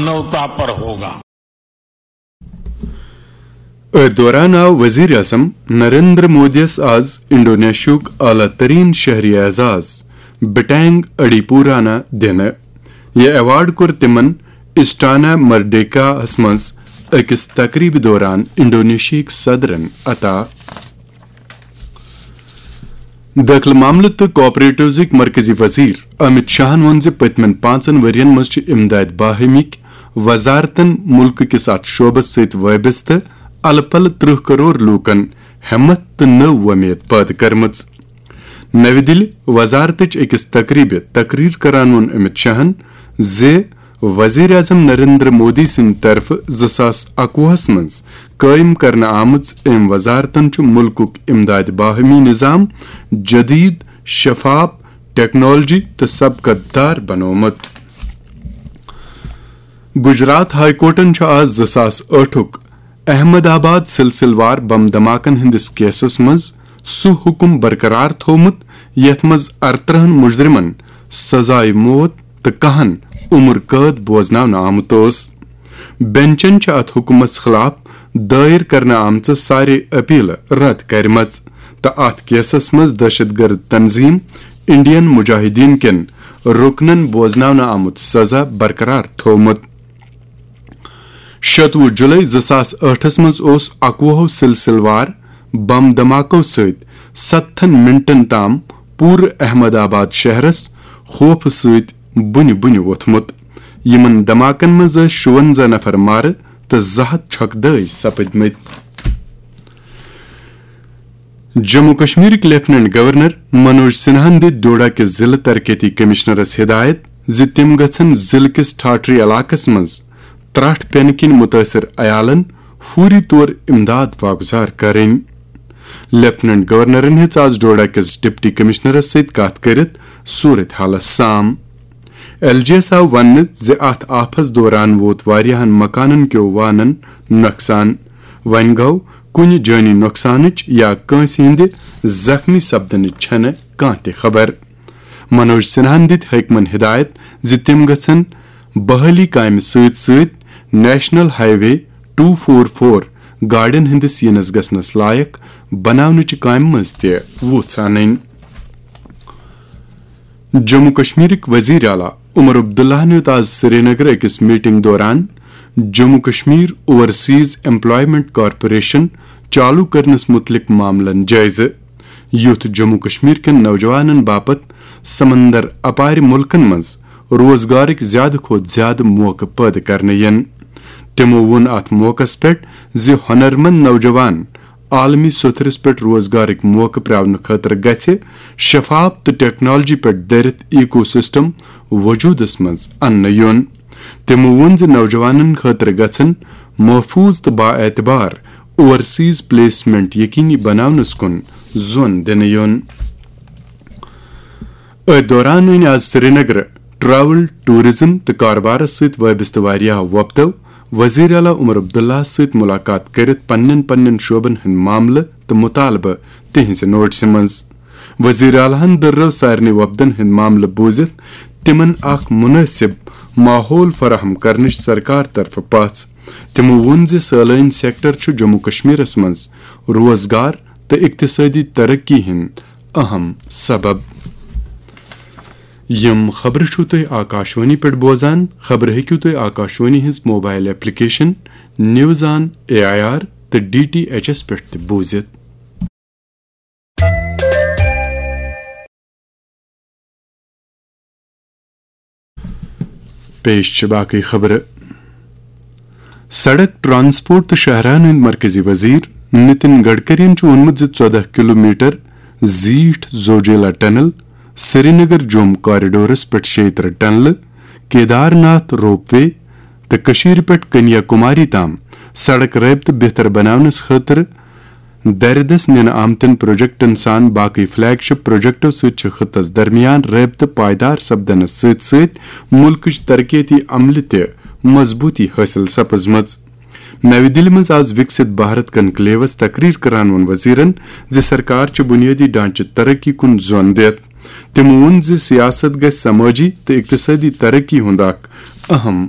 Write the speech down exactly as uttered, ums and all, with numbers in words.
मानवता पर होगा। أتھۍ دوران آو وزیر اعظم نریندر مودیَس آز انڈونیشیاہُک اعلیٰ ترین شہری اعزاز بٹینگ اڈی پورانا دِنہٕ۔ یہِ ایوارڈ کوٚر تِمَن اسٹانا مرڈیکاہَس منٛز أکِس تقریبہِ دوران انڈونیشیاہٕکۍ صدرَن عطا۔ دٲخلہٕ معاملہٕ تہٕ کوآپریٹوزٕکۍ مرکزی وزیر امت شاہن ووٚن زِ پٔتمٮ۪ن پانٛژن ؤرین منٛز چھِ امداد باہمیٕکۍ وزارتن مُلکہٕ کِس اتھ شعبس سۭتۍ وابستہٕ الہٕ پلہٕ ترٕٛہ کرور لوٗکن ہٮ۪متھ تہٕ نٔو وۄمید پٲدٕ کٔرمٕژ۔ نَوِ دِلہِ، وزارتٕچ أکِس تقریبہِ تقریر کران ووٚن امت شاہن زِ وزیر اعظم نریندر مودی سٕنٛدِ طرفہٕ زٕ ساس اَکوُہس منٛز قٲیِم کرنہٕ آمٕژ أمۍ وزارتن چھُ مُلکُک امداد باہمی نظام جدید، شفاف، ٹیکنالوجی تہٕ سبقت دار بنوومُت۔ گجرات ہائی کورٹن چھُ آز زٕ ساس ٲٹھُک احمد آباد سلسلہٕ وار بم دھماکن ہٕنٛدِس کیسس منٛز سُہ حُکم برقرار تھوومُت، یتھ منٛز ارترٛہن مجرمن سزائے موت تہٕ کاہن عمر قٲد بوزناونہٕ آمُت اوس۔ بینچن چھِ اتھ حُکمس خلاف دٲیر کرنہٕ آمژٕ سارے اپیلہٕ رد کرِمژٕ تہٕ اتھ کیسس منٛز دہشت گرد تنظیم انڈین مجاہدین کٮ۪ن رُکنن بوزناونہٕ آمُت سزا برقرار تھوومُت۔ شتوُہ جولائی زٕ ساس ٲٹھس منٛز اوس اَکوُہو سلسلہٕ وار بم دھماکو سۭتۍ ستتھن منٹن تام پوٗرٕ احمد آباد شہرس خوفہٕ سۭتۍ بُنہِ بُنہِ ووٚتھمُت۔ یِمن دھماکن منٛز ٲسۍ شُونزہ نفر مارٕ تہٕ زٕ ہتھ چھۄکہٕ دٲے سپٕدمٕتۍ۔ جموں کشمیرٕکۍ لیفٹیننٹ گورنر منوج سنہاہن دِتۍ ڈوڈا کِس ضلعہٕ ترقیتی کمشنرس ہدایت زِ تِم گژھن ضلعہٕ کِس ٹھاٹھری علاقس منٛز ترٛٹھ پینہٕ کِنۍ مُتٲثر عیالن فوری طور امداد واگزار کرٕنۍ۔ لیفٹیننٹ گورنرن ہیٚژ آز ڈوڈا کِس ڈپٹی کمشنرس سۭتۍ کتھ کٔرِتھ صورت حالس سام۔ ایل جی یس آو وننہٕ زِ اتھ آفس دوران ووت واریاہن مکانن کیو وانن نۄقصان۔ وۄنۍ گوٚو، کُنہِ جٲنی نۄقصانٕچ یا کٲنٛسہِ ہٕنٛدِ زخمی سپدنٕچ چھنہٕ کانٛہہ تہِ خبر۔ منوج سنہاہن دِتۍ حٲکمن ہدایت زِ تِم گژھن بحالی کامہِ سۭتۍ سۭتۍ national highway two four four گاڑٮ۪ن ہٕنٛدِس یِنس گژھنس لایق بناونٕچہِ کامہِ منٛز تہِ وُژھ انٕنۍ۔ جموں کشمیرٕکۍ وزیر اعلیٰ عمر عبداللہن ہیوٚت آز سرینگر أکِس میٹنگ دوران Jammu Kashmir overseas employment corporation چالو کرنس متعلق معاملن جٲیزٕ، یُتھ جموں کشمیر کٮ۪ن نوجوانن باپتھ سمندر اپارِ ملکن منٛز روزگارٕکۍ زیادٕ کھۄتہٕ زیادٕ موقعہٕ پٲدٕ کرنہٕ یِن۔ تِمو ووٚن اتھ موقعس پٮ۪ٹھ زِ ہۄنرمند نوجوان عالمی سوٚتھرس پٮ۪ٹھ روزگارٕکۍ موقعہٕ پراونہٕ خٲطرٕ گژھِ شفاف تہٕ ٹیکنالوجی پٮ۪ٹھ دٔرِتھ ایکو سسٹم وجودس منٛز اننہٕ یُن۔ تِمو ووٚن زِ نوجوانن خٲطرٕ گژھن محفوظ تہٕ بااعتبار اوورسیز پلیسمنٹ یقینی بناونس کُن زون دِنہٕ یُن۔ أتھۍ دوران أنۍ آز سرینگرٕ ٹریول، ٹورازم تہٕ کاربارس سۭتۍ وابستہٕ واریاہ وۄپدو وزیر اعلیٰ عمر عبداللہ سۭتۍ ملاقات کٔرِتھ پننٮ۪ن پننٮ۪ن شعبن ہٕنٛدۍ معاملہٕ تہٕ مطالبہٕ تِہنٛزِ نوٹسہِ منٛز۔ وزیر اعلیٰ ہن دٔررٲو سارنٕے وۄپدن ہٕنٛدۍ معاملہٕ بوٗزِتھ تِمن اکھ مناسب ماحول فراہم کرنٕچ سرکار طرفہٕ پژھ۔ تِمو ووٚن زِ سٲلٲنۍ سیکٹر چھُ جموں کشمیرس منٛز روزگار تہٕ اقتصٲدی ترقی ہٕنٛدۍ اہم سبب۔ یِم خبرٕ چھِو تُہۍ آکاشوانی پٮ۪ٹھ بوزان۔ خبرٕ ہیٚکِو تُہۍ آکاشوانی ہٕنٛز mobile application news on A I R تہٕ ڈی ٹی ایچ ایس پٮ۪ٹھ تہِ بوٗزِتھ۔ پیش چھِ باقٕے خبرٕ۔ سڑک، ٹرانسپورٹ تہٕ شاہراہن ہٕنٛدۍ مرکزی وزیر نتن گڈکرین چھُ ووٚنمُت زِ ژۄدہ کلومیٹر زیٖٹھ زوجیلا ٹنل، سرینگر جوم کوریڈورس پٮ۪ٹھ شیٚیہِ ترٕٛہ ٹنلہٕ، کیدار ناتھ روپ وے تہٕ کٔشیٖرِ پٮ۪ٹھ کنیا کماری تام سڑک رٲبطہٕ بہتر بناونس خٲطرٕ دردس نِنہٕ آمتٮ۪ن پروجیکٹن سان باقٕے فلیگ شپ پروجیکٹو سۭتۍ چھِ خطس درمیان رٲبطہٕ پائیدار سپدنس سۭتۍ سۭتۍ مُلکٕچ ترقیتی عملہِ تہِ مضبوٗطی حٲصِل سپٕزمٕژ۔ نَوِ دِلہِ منٛز آز وِکسِت بھارت کنکلیوس تقریر کران ووٚن وزیرن زِ سرکار چھِ بنیٲدی ڈھانچہٕ ترقی کُن زون دِتھ۔ تِمو ووٚن زِ سیاست گژھِ سمٲجی تہٕ اقتصٲدی ترقی ہُنٛد اکھ اہم